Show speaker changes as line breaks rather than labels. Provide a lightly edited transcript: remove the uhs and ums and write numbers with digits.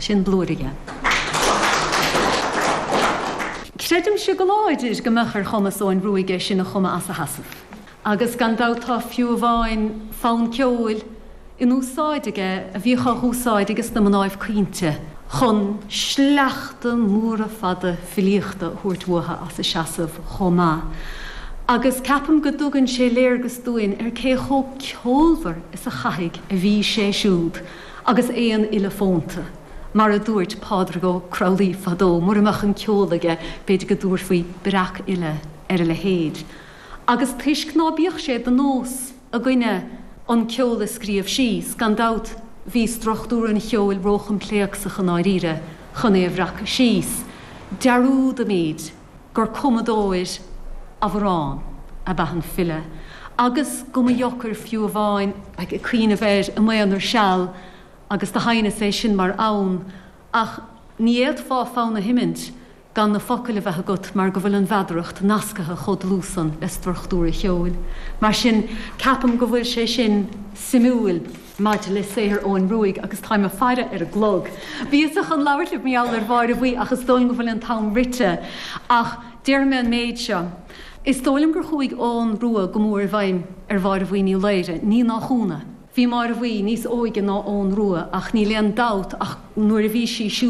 Sin blúire dhe. Creidimse go láidir go mbeadh ar chumas Eoin Ruaidh é sin a chumadh as a sheasamh. Agus gan dabht tá fiú amháin fonn ceoil in úsáid aige a bhíodh á úsáid ages na mnáibh caointe chun sleachta móra fada filíochta a thabhairt uatha as a seasamh chomh maith. Agus ceapaim go dtugann sé léargas dúinn ar cé chomh ceolmhar is a chaithfidh a bhí sé siúd agus é an fhile fónta, mar a dúirt Pádraig Ó Cromghlinn fadó, mura mbeadh an ceol aige b'fhéidir go dtabharfaí breac-fhile ar a leithéid. Agus toisc ná bíodh sé de nós againne an ceol a scríobh síos, gan dabht bhí struchtúr an cheoil róchoimpléacsach i ndáiríre chun é a bhreacadh síos. Dearúdaimid gur cumadóir amhrán ab ea an file, agus go mba dheocair fiú amháin ag cuimhneamh air i m'aonar seal agus do sheinneas é sin mar fhonn, ach ní fhéadfá fonn a sheimint gan na focail a bheith agat mar go bhfuil an mheadaracht nascaithe chomh dlúth san le struchtúr an cheoil. Mar sin, ceapaim go bhfuil sé sin suimiúil maidir le saothar Eoin Ruaidh agus táim ag faire ar an gclog. Bhíos-sa chun labhairt libh mar gheall ar Mháire Bhuí ach is dóigh liom go bhfuil an t-am rite. Ach déarfaidh mé an méid seo. Is dóigh liom gur chuaigh Eoghan Rua go mór i bhfeidhm ar Mháire Bhuí Ní Laoire, ní nach ionadh. Bhí Máire Bhuí níos óige ná Eoghan Rua ach níl aon dabht ach nuair a bhí sí siúd.